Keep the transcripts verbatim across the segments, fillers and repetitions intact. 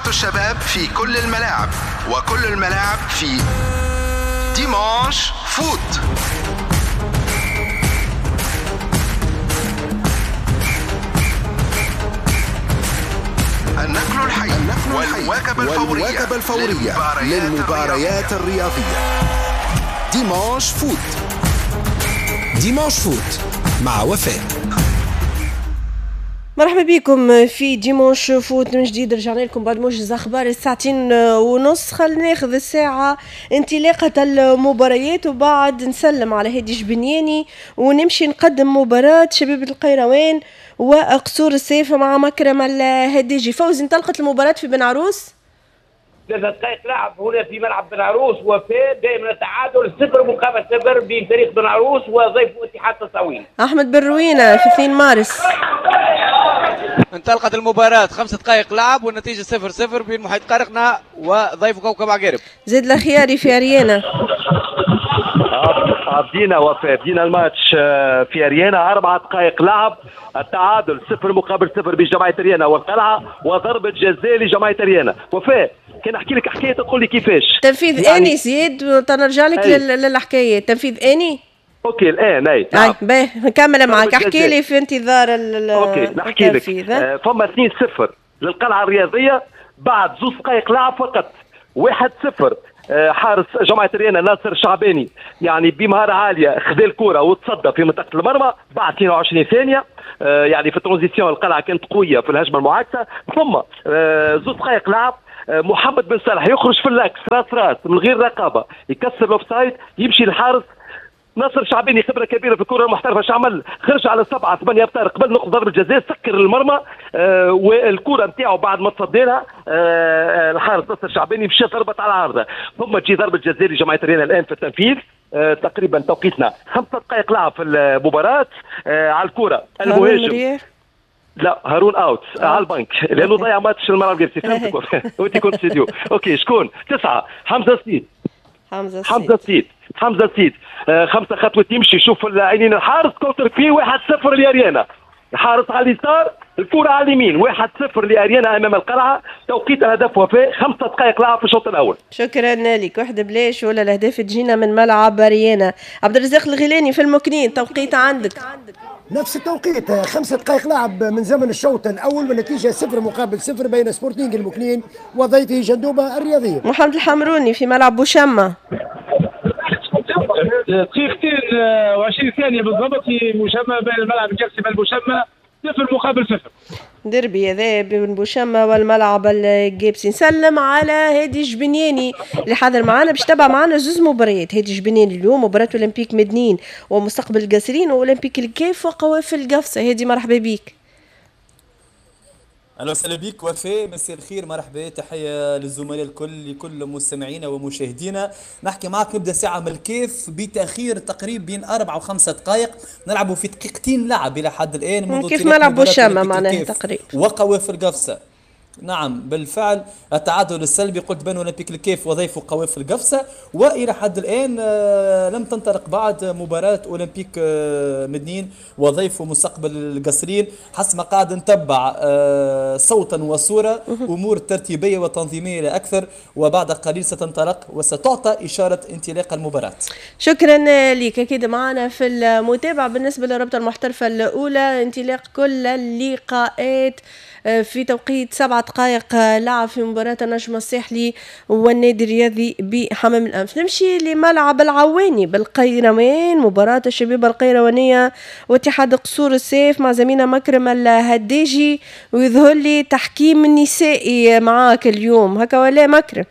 متعة الشباب في كل الملاعب، وكل الملاعب في Dimanche Foot. النقل الحي والمواكبة الفورية, الفورية للمباريات الرياضية. Dimanche Foot. Dimanche Foot مع وفاء. مرحبا بكم في Dimanche Foot من جديد. رجعنا لكم بعد موجز اخبار الساعتين ونص. خلينا ناخذ الساعة انطلاقة المباريات وبعد نسلم على هادي جبنياني ونمشي نقدم مباراة شبيبة القيروان وقصور السيف مع مكرم الهديجي. فوزي، انطلقت المباراة في بن عروس. ثلاث دقائق لعب هنا في ملعب بن عروس، وفاء دائما التعادل صفر مقابل صفر بين فريق بن عروس وضيف اتحاد تطاوين. احمد بن روينه في اثنين مارس. انطلقت المباراة، خمس دقائق لعب والنتيجة صفر صفر بين محيط قرقنة وضيف كوكب عقارب. زيد الخياري في أريانا. بدينا وفاء، بدينا الماتش في أريانا، أربع دقائق لعب، التعادل صفر مقابل صفر بين جماعة أريانا والقلعة، وضربة جزاء لجماعة أريانا. وفاء كان نحكي لك حكاية تقول لي كيفاش تنفيذ يعني آني زياد، تنرجع لك للحكاية تنفيذ آني. OK الان اي نعم. باهي نكمل معك، احكي لي في انتظار ال OK نحكي لك. آه فما اثنين صفر للقلعه الرياضية بعد زوج دقائق لعب فقط، واحد صفر. آه حارس جماعة ريانا ناصر الشعباني يعني بمهارة عالية خذا الكره وتصدى في منطقة المرمى بعد اثنين وعشرين ثانية. آه يعني في ال transition القلعة كانت قوية في الهجمة المعاكسة. ثم آه زوج دقائق لعب، محمد بن صالح يخرج في l'axe راس راس من غير رقابه، يكسر ال offside، يمشي الحارس ناصر شعباني خبره كبيرة في الكره المحترفه، اش عمل؟ خرج على سبعة ثمانية امتار قبل نقطة ضربه الجزاء، سكر المرمى آه والكره نتاعو بعد ما تصدى لها آه الحارس ناصر شعباني مشى ضربت على العارضة. ثم تجي ضربه جزاء لجماعة ريانا الان في التنفيذ. آه تقريبا توقيتنا خمسة دقائق لعب في المباراة. آه على الكره المهاجم لا هارون out على البنك لانه ضيع ماتش الملعب القبسي، فهمتك وانت كنت studio. OK شكون؟ تسعة حمزة سيد. حمزة سيد حمزة سيد حمزة سيد آه خمسة خطوة يمشي يشوف عينين الحارس، contre-pied واحد صفر لاريانا. الحارس على اليسار، الكره على اليمين، واحد صفر لاريانا امام القلعة. توقيت الهدف وفاء خمسة دقائق لعب في الشوط الاول. شكرا لك. واحدة بلاش ولا الاهداف تجينا من ملعب اريانا. عبد الرزاق الغيلاني في المكنين، توقيت عندك. نفس التوقيت، خمسة دقائق لعب من زمن الشوط الاول والنتيجة صفر مقابل صفر بين سبورتينغ المكنين وضيفه جندوبه الرياضية. محمد الحمروني في ملعب بوشمه. دقيقتين وعشرين ثانية بالضبط في بوشمه بين الملعب القفصي والبوشمه، صفر مقابل صفر. ديربي هذا بين بوشمه والملعب الجيبسي. نسلم على هادي جبنياني اللي حاضر معنا باش تبع معنا زوز مباريات. هادي جبنياني اليوم مباراة اولمبيك مدنين ومستقبل القاسرين واولمبيك الكاف وقوافل قفصه. هادي مرحبا بك. اهلا وسهلا بك وفاء، مساء الخير، مرحبا، تحية للزملاء الكل، لكل مستمعينا ومشاهدينا. نحكي معك نبدا ساعة من الكيف بتاخير تقريبا بين اربع وخمسة دقائق، نلعبوا في دقيقتين لعب الى حد الان منذ كيف ملعب بوشامه معناها تقريبا وقوافل قفصه. نعم بالفعل التعادل السلبي قلت بين اولمبيك الكيف وضيفه قوافل قفصه، والى حد الان لم تنطلق بعد مباراة اولمبيك مدنين وضيفه مستقبل القصرين. حسب ما قاعد نتبع صوتا وصوره امور ترتيبيه وتنظيميه لا اكثر، وبعد قليل ستنطلق وستعطى اشارة انطلاق المباراة. شكرا لك. اكيد معنا في المتابعة بالنسبة للرابطة المحترفه الاولى انطلاق كل اللقاءات في توقيت سبعة دقائق لعب في مباراة النجم الساحلي والنادي الرياضي بحمام الأنف. نمشي لملعب العواني بالقيروان، مباراة الشبيبة القيروانية واتحاد قصور السيف مع زميلنا مكرم الهداجي، ويظهر لي تحكيم نسائي معاك اليوم هكا ولا مكرم؟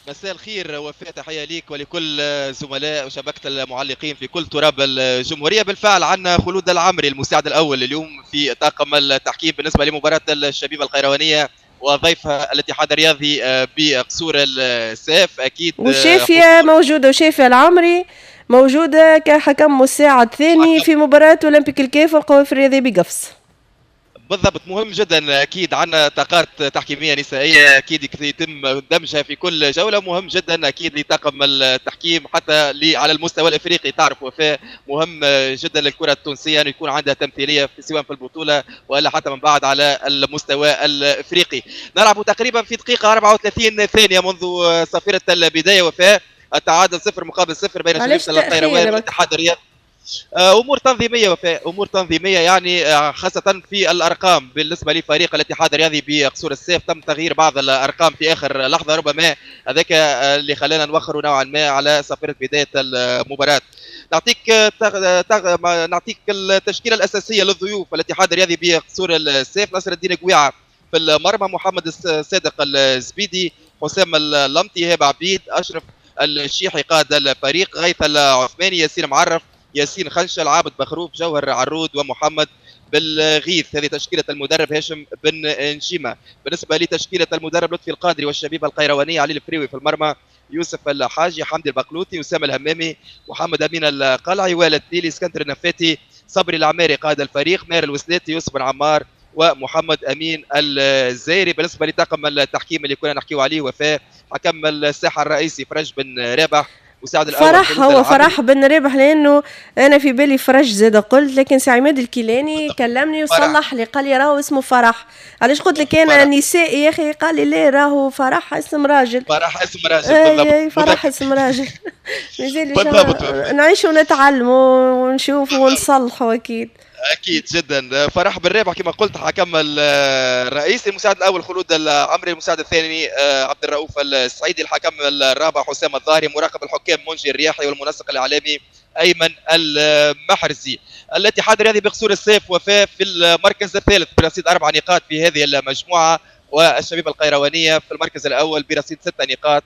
مساء الخير وفاء، تحية ليك ولكل زملاء وشبكة المعلقين في كل تراب الجمهورية. بالفعل عندنا خلود العمري المساعد الأول اليوم في طاقم التحكيم بالنسبة لمباراة الشبيبة القيروانية وضيفها الاتحاد الرياضي بقصور الساف. أكيد وشافية موجودة، وشافية العمري موجودة كحكم مساعد ثاني في مباراة أولمبيك الكاف والقوافل الرياضية بقفص. بالضبط، مهم جدا اكيد عندنا طاقات تحكيميه نسائية اكيد يتم دمجها في كل جولة، مهم جدا اكيد لطاقم التحكيم حتى على المستوى الافريقي. تعرف وفاء مهم جدا للكرة التونسية ان يكون عندها تمثيلية في سواء في البطولة والا حتى من بعد على المستوى الافريقي. نلعب تقريبا في دقيقة أربعة وثلاثين ثانية منذ صافرة البداية وفاء، التعادل صفر مقابل صفر بين شبيبة القيروان والاتحاد الرياضي. امور تنظيميه وفاء، امور تنظيميه يعني خاصة في الارقام. بالنسبة لفريق الاتحاد الرياضي بقصور السيف تم تغيير بعض الارقام في اخر لحظة، ربما هذاك اللي خلانا نوخروا نوعا ما على صافرة بداية المباراة. نعطيك تغ... تغ... نعطيك التشكيلة الاساسية للضيوف الاتحاد الرياضي بقصور السيف: نصر الدين قويعه في المرمى، محمد الصادق الزبيدي، حسام اللمطي، هبه عبيد، اشرف الشيحي قائد الفريق، غيث العثماني، ياسين معرف، ياسين خنشل، عابد بخروف، جوهر عرود، ومحمد بالغيث. هذه تشكيلة المدرب هاشم بن نجيمة. بالنسبة لتشكيلة المدرب لطفي القادري والشبيبة القيروانية: علي الفريوي في المرمى، يوسف الحاجي، حمدي البقلوطي، أسامة الهمامي، محمد أمين القلعي، والد تيلي، اسكندر النفاتي، صبري العماري قائد الفريق، ماهر الوسلاتي، يوسف بن عمار، ومحمد أمين الزايري. بالنسبة لطاقم التحكيم اللي كنا نحكيو عليه وفاء، حكم الساحة الرئيسي فرج بن رابح، مساعد الأول فرح، هو فرح بن رابح لانه انا في بالي فرج زاد قلت، لكن سي عماد الكيلاني كلمني وصلح لي قال لي راهو اسمه فرح. علاش قلت لك انا نسائي يا اخي؟ قال لي لا راهو فرح اسم راجل. فرح اسم راجل بالضبط، فرح اسم راجل. بالضبط، نعيشوا ونتعلموا ونشوفوا ونصلحوا اكيد. اكيد جدا. فرح بن رابح كما قلت حكم الرئيسي، المساعد الاول خلود العمري، المساعد الثاني عبد الرؤوف السعيدي، الحكم الرابع حسام الظاهري، مراقب الحكام منجي الرياحي، والمنسق الاعلامي ايمن المحرزي. الاتحاد الرياضي بقصور السيف وفاء في المركز الثالث برصيد اربع نقاط في هذه المجموعة، والشبيبه القيروانيه في المركز الاول برصيد ست نقاط.